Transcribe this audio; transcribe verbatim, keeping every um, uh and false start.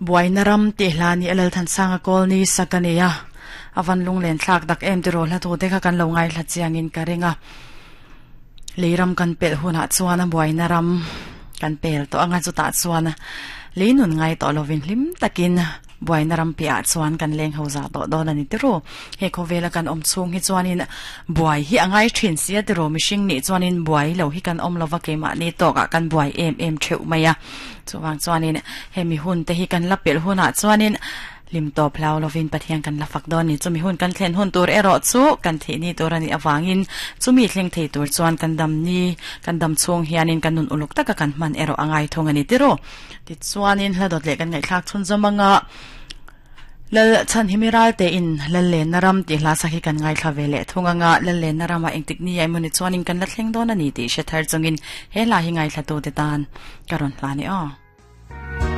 Buaina ram ti hlani alal than sanga kol ni sakania avan lunglen thlak dak em tiro hla tu te kha kan lo ngai hla chiangin ka ringa leiram kan pel huna chuan a buaina ram kan pel to anga chu ta chuan leinun ngai to lovin hlim takin buaina ram pia chuan kan leng ho za to don ani tiro he khovela kan om chung hi chuanin buai hi angai thin sia tiro mishing ni chuanin buai lo hi kan om lova ke ma ni to ka kan buai em em theu maya chuwang chuanin hemi hun te hi kan lapel huna chuanin lim to phlau lovin pathian kan la fak don ni chumi hun kan thlen hun tur ero chu kan the ni tur ani awangin chumi thleng thei tur chuan kan dam ni kan dam chung hianin kan nun uluk taka kan man ero angai thong ani tiro ti chuanin hladot le kan ngai thlak chun zamanga lal chan himiral te in lal le naram ti hla sakhi kan ngai thla vele thunganga lal le narama engtik ni ai muni chuanin kan la thleng don ani ti she thar chungin he la hi ngai thla tu te tan karon hla ni o.